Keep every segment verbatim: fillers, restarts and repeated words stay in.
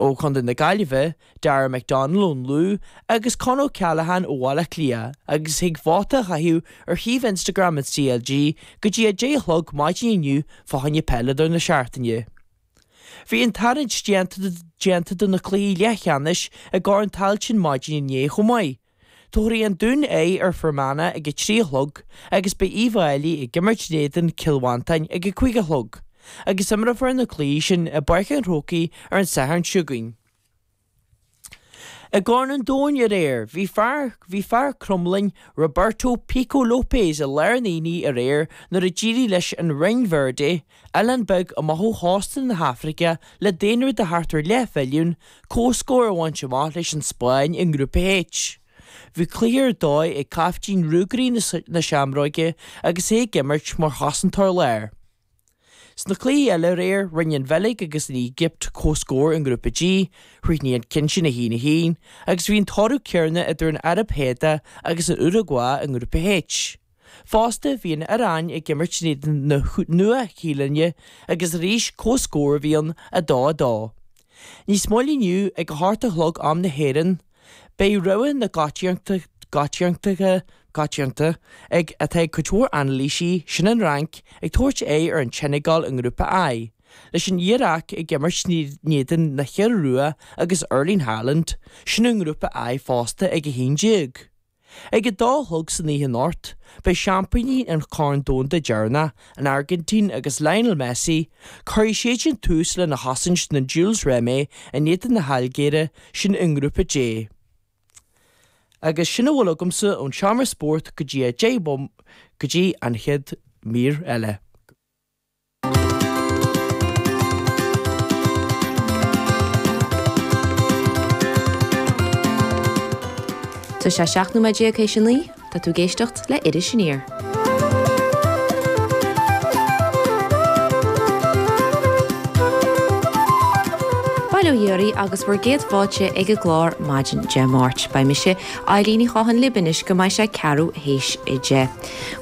ó Chontae na Gaillimhe, Dara McDonnell ón Lú agus Con O'Callaghan ó Bhaile Átha Cliath agus thig vóta a chaitheamh ar shuíomh Instagram an CLG go dtí a deich a chlog maidin inniu fá choinne peileadóir na seachtaine. Bhí an tarraingt déanta do na cluichí leathcheannais i gCorn Tailteann maidin inné chomh maith. Tabharfaidh an Dún aghaidh ar Fhear Manach ag a trí a chlog agus beidh Uíbh Fhailí ag imirt in éadan Cill Mhantáin ag a cúig a chlog. Agus imreofar na cluichí sin i bPáirc an Chrócaigh ar an Satharn seo chugainn. I gCorn an Domhain aréir, bhí fear bhí fear Cromghlinn, Roberto Pico Lopes i lár an aonaigh aréir nuair a d'éirigh leis an Rinn Verde, oileán beag amach ó chósta na hAfraice le daonra de thart ar leathmhilliún, comhscór a bhaint amach leis an Spáinn i nGrúpa H. Bhí cluiche ar dóigh ag caiftín Ruagairí na Seamróige agus é ag imirt mar chosantóir láir. Sna cluichí eile aréir, rinne an Bheilg agus an Éigipt comhscór i nGrúpa G, chríochnaigh an ceann sin a haon a haon, agus bhí an toradh céanna idir an Araib Shádaigh agus an Uragua i nGrúpa H. Fosta, bhí an Iaráin ag imirt in éadan na Nua-Shéalainne agus arís comhscór a bhí ann, a dó a dó. Níos moille inniu, ag a hocht a chlog am na hÉireann, beidh rogha na gcoitiantachta coitianta ag atá ag cuid mhór anailísí, sin an Fhrainc, ag tabhairt aghaidh ar an tSeineagáil i nGrúpa I, leis an Iaráic ag imirt in éadan na hIorua agus Erling Haaland, sin i nGrúpa I fosta ag a haon déag. Ag a dó a chlog san oíche anocht, beidh seaimpíní an Chorn Domhanda deireanach, an Airgintín agus Lionel Messi, cuirfidh siadsan tús lena chosaint na Jules Rimet in éadan na hAilgéire, sin i nGrúpa J. Agus sin a bhfuil agamsa ón seomra spóirt go dtí a deich go dtí an chéad mír eile. Tá sé seacht nóiméad déag théis a naoi, tá tú ag éisteacht le Iris Aniar. Bail ó Dhia oraibh agus bhur gcéad fáilte ag an gclár maidin Dé Máirt. Beidh mise, Eileen Ní Chatháin libh anois go mbeidh sé ceathrú théis a deich.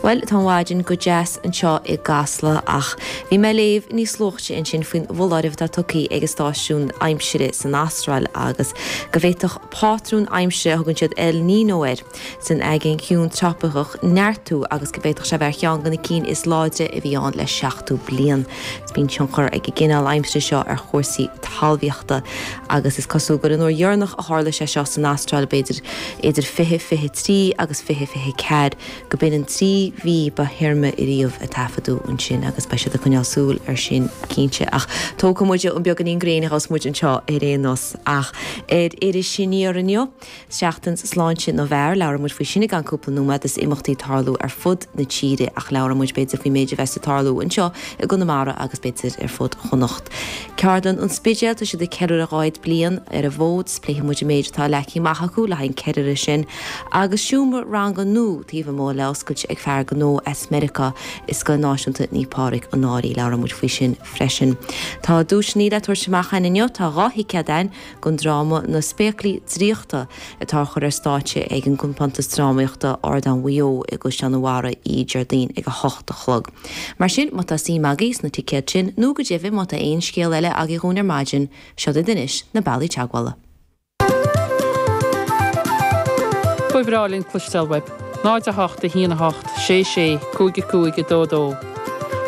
Bhuel, tá an mhaidin go deas anseo i gCasla ach bhí mé ag léamh níos luaithe ansin faoin bhfoláireamh atá tugtha ag an stáisiún aimsire san Astráil agus go bhféadfadh pátrún aimsire a thugann siad El Niño air san Aigéan Ciúin Trópaiceach neartú agus go bhféadfadh sé bheith ar cheann de na cinn is láidre a bhí ann le seachtó bliain. Bíonn tionchar ag an gcineál aimsire seo ar chúrsaí talmhaíochta agus is cosúil gur an uair dheireanach a tharla sé seo san Astráil, b'fhéidir idir fiche fiche trí agus fiche fiche ceathair, go b'in an trí mhí ba thirime ariamh a taifeadadh ansin agus beidh siad ag coinneáil súil air sin cinnte. Ach tógfaidh muid an beagáinín gréine a gheobhas muid anseo ar aon nós. Ach ar Iris Aniar inniu, Seachtain Sláinte na bhFear, labhróidh muid faoi sin i gceann cúpla nóiméad is imeachtaí ag tarlú ar fud na tíre ach labhróidh muid b'fhéidir faoin méid a bheas ag tarlú anseo i gConamara agus b'fhéidir ar fud Chonnacht. Ceardlann an Spidéil, tá siad ag ceiliúradh dhá fhichead bliain ar an bhfód, pléifidh muid an méid atá leagtha amach acu le haghaidh an ceiliúradh sin agus seomra ranga nua taobh amuigh le oscailt ag fear gnó as Meiriceá i Scoil Náisiúnta Naomh Pádraig an Fhairche, labhróidh muid faoi sin freisin. Tá duaiseanna le tabhairt amach againn inniu, tá dhá thicéad againn don dráma Na Spéaclaí Draíochta atá á chur ar stáitse ag an gcompántas drámaíochta Ardán Mhaigh Eo i gCaisleán an Bharraigh oíche Déardaoin ag a hocht a chlog. Mar sin, má tá suim agaibh sna ticéid sin, nó go deimhin má tá aon scéal eile agaibh dhúinn ar maidin, seo duit anois na bealaí teagmhála. Ba bhreá linn cloisteáil uaibh. náid a hocht a haon a hocht sé sé cúig a cúig a dó dó.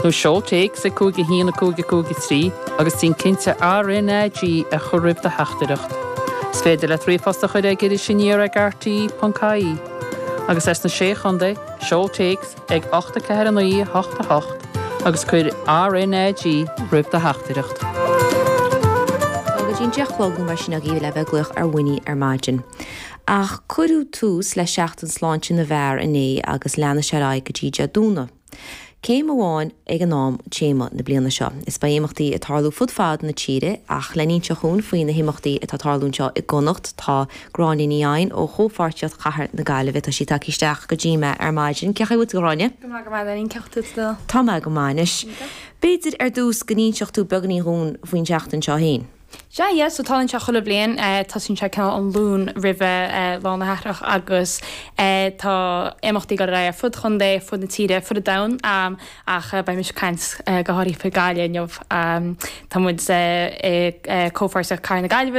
Nó seol téacs ag cúig a haon a cúig a cúig a trí agus déan cinnte RnaG a chur roimh do theachtaireacht. Is féidir leat ríomhphost a chur ag irisaniar ag rte ponc ie. Agus as na Sé Chontae, seol téacs ag ocht a ceathair a naoi a hocht a hocht agus cuir RnaG roimh do theachtaireacht. Tá go dtí an deich a chlog nó mar sin agaibh le bheith ag glaoch ar Winnie ar maidin. Ach cuireadh tús le Seachtain Sláinte na bhFear inné agus leanfaidh sé ar aghaidh go dtí Dé Domhnaigh. Céim amháin ag an am téama na bliana seo. Is beidh imeachtaí ag tarlú fud fad na tíre ach le n-inseacht dhúinn faoi na himeachtaí atá ag tarlú anseo i gConnacht tá Gráinne Ní Eidhin ó Chomhpháirtíocht Chathair na Gaillimhe. Tá sí tagtha isteach go dtí mé ar maidin. Cén chaoi a bhfuil tú a Ghráinne? Go maith go maith Eileen, cén chaoi a bhfuil tú? Tá mé go maith anois. B'fhéidir ar dtús go n-inseodh tú beagáinín dhúinn faoin tseachtain seo féin. Sea, yeah, so tarlaíonn sé chuile bhliain, tosaíonn sé cineál an Luan roimhe Lá na Cathrach agus tá imeachtaí ag dul ar aghaidh ar fud chontae, ar fud na tíre, ar fud an domhain ach beidh mise ag caint go háirithe faoi Gaillimh inniu. Tá muid i comhpháirtíocht Cathair na Gaillimhe